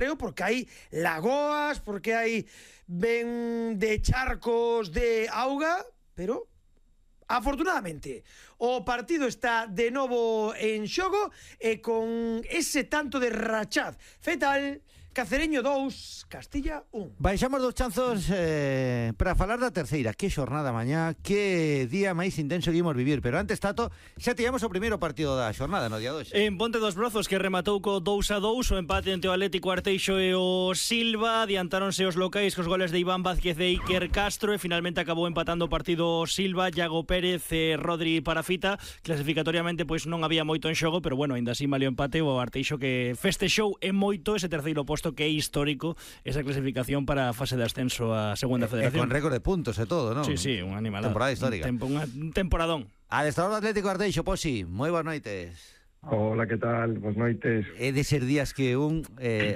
pero porque hai lagoas, porque hai ben de charcos de auga, pero afortunadamente o partido está de novo en xogo e con ese tanto de Rachad Fetal, Cacereño 2, Castilla 1. Baixamos dos chanzos para falar da terceira. Que xornada mañá, que día máis intenso que imos vivir. Pero antes, Tato, xa tivemos o primeiro partido da xornada no día 2. En Ponte dos Brozos, que rematou co 2-2, o empate entre o Atlético Arteixo e o Silva. Adiantáronse os locais cos goles de Iván Vázquez e Iker Castro, e finalmente acabou empatando o partido Silva, Iago Pérez e Rodri Parafita. Clasificatoriamente pois non había moito en xogo, pero bueno, ainda así malio empate o Arteixo, que festexou en moito ese terceiro posto, que é histórico esa clasificación para a fase de ascenso a segunda federación. Con récord de puntos e todo, non? Sí, un animal. Temporada histórica. Un temporadón. Adestrador do Atlético Arteixo, Posi, moi boas noites. Hola, que tal? Boas noites. É de ser días que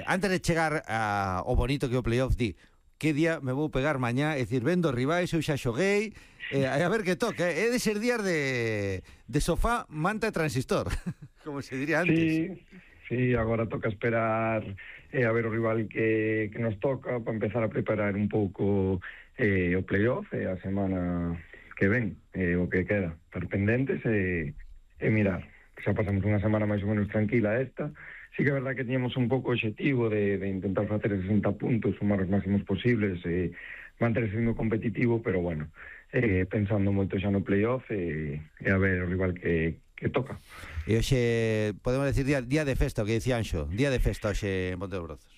antes de chegar ao bonito que o playoff, di que día me vou pegar mañá, é dicir, vendo rivais, eu xa xoguei, a ver que toca. É de ser días de sofá, manta e transistor, como se diría antes. Sí, agora toca esperar a ver o rival que nos toca para empezar a preparar un pouco o playoff a semana que ven, o que queda, estar pendentes e mirar. Xa pasamos unha semana máis ou menos tranquila esta. Sí que é verdad que teníamos un pouco o objetivo de intentar facer 60 puntos, sumar os máximos posibles e manter ese ritmo competitivo, pero bueno, pensando moito xa no playoff e a ver o rival que toca. E hoxe, podemos decir, día de festa, o que dicía Anxo, día de festa hoxe en Ponte dos Brozos.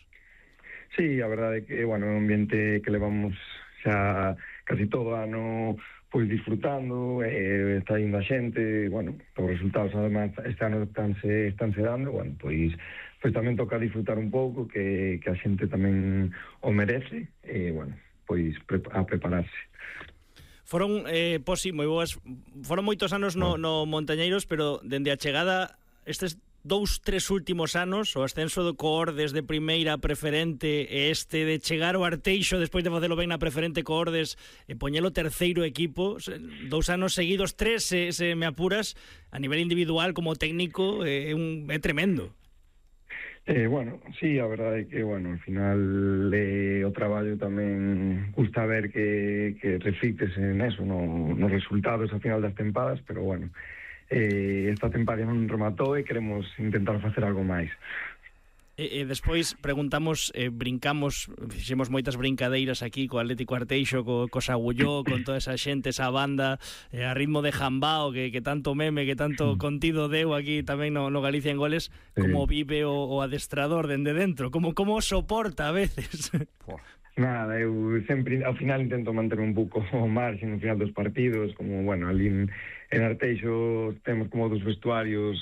Sí, a verdade é que, bueno, é un ambiente que levamos xa casi todo ano pois disfrutando, está indo a xente, bueno, os resultados además este ano estánse dando, bueno, pois tamén toca disfrutar un pouco, que a xente tamén o merece, e, bueno, pois a prepararse. Foron, Posi, moi boas. Foron moitos anos no Montañeiros, pero dende a chegada estes 2-3 últimos anos, o ascenso do Coordes de primeira preferente e este de chegar ao Arteixo despois de facelo ben na preferente Coordes e poñelo terceiro equipo, 2 anos seguidos, 3 se me apuras, a nivel individual como técnico é tremendo. Bueno, sí, a verdade é que, bueno, al final o traballo tamén gusta ver que reflictes en eso, nos resultados ao final das tempadas, pero bueno, esta tempada non rematou e queremos intentar facer algo máis. E despois preguntamos, brincamos, fixemos moitas brincadeiras aquí co Atlético Arteixo, co Sagulló, con toda esa xente, esa banda, a ritmo de jambao, que tanto meme, que tanto contido deu aquí tamén no Galicia en Goles, como vive o adestrador dende dentro, como soporta a veces. Nada, eu sempre ao final intento manter un pouco o marxen no final dos partidos, como, bueno, ali en Arteixo temos como dos vestuarios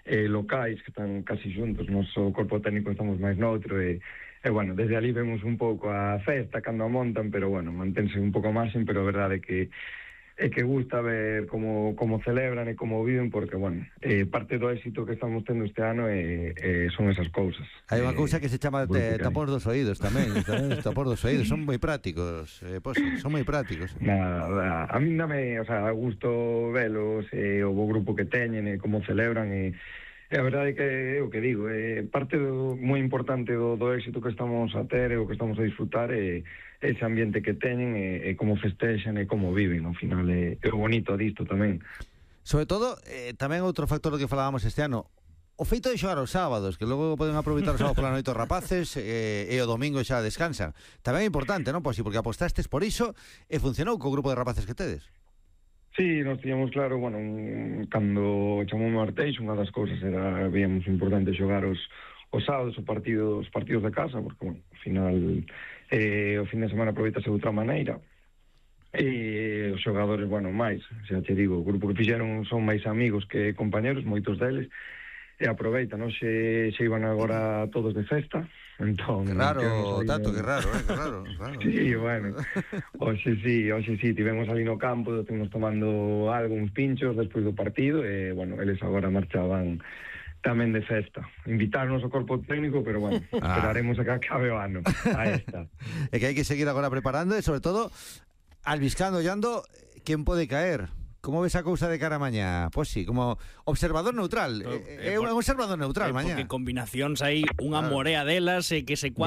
locais que están casi xuntos, noso corpo técnico estamos máis noutro e bueno, desde ali vemos un pouco a festa cando a montan, pero bueno, mantense un pouco marxen, pero a verdade é que gusta ver como celebran e como viven, porque, bueno, parte do éxito que estamos tendo este ano son esas cousas. Hai unha cousa que se chama tapón dos oídos tamén tapón dos oídos, son moi prácticos, son moi prácticos. Nada, a mí dame, o sea, gusto velos, o bo grupo que teñen, e como celebran, e a verdade é que é o que digo, parte moi importante do éxito que estamos a ter e o que estamos a disfrutar é ese ambiente que teñen e como festexan e como viven, ao final é o bonito disto tamén. Sobre todo, tamén outro factor do que falábamos este ano, o feito de xogar os sábados, que logo poden aproveitar os sábados pola noite os rapaces e o domingo xa descansan. Tamén é importante, non, Posi, porque apostastes por iso e funcionou co grupo de rapaces que tedes. Sí, nos tiñamos claro, bueno, cando chamou o Arteixo, unha das cousas era, veíamos importante xogar os sábados, os partidos de casa, porque, bueno, ao final o fin de semana aproveitase de outra maneira, e os xogadores, bueno, máis, xa te digo, o grupo que fixeron son máis amigos que compañeros, moitos deles, e aproveitan, non? Se iban agora todos de festa, entón... Que raro, Tato, que raro. Sí, bueno, hoxe sí, tivemos ali no campo, estivemos tomando algo, uns pinchos despois do partido, e, bueno, eles agora marchaban tamén de festa. Invitarnos ao corpo técnico, pero, bueno, esperaremos a que acabe o ano. Aí está. É que hai que seguir agora preparando, e, sobre todo, albiscando, ollando, quen pode caer, Como ves a cousa de cara a mañá? Pois sí, como observador neutral. É un observador neutral mañá. Porque combinacións hai unha morea delas que se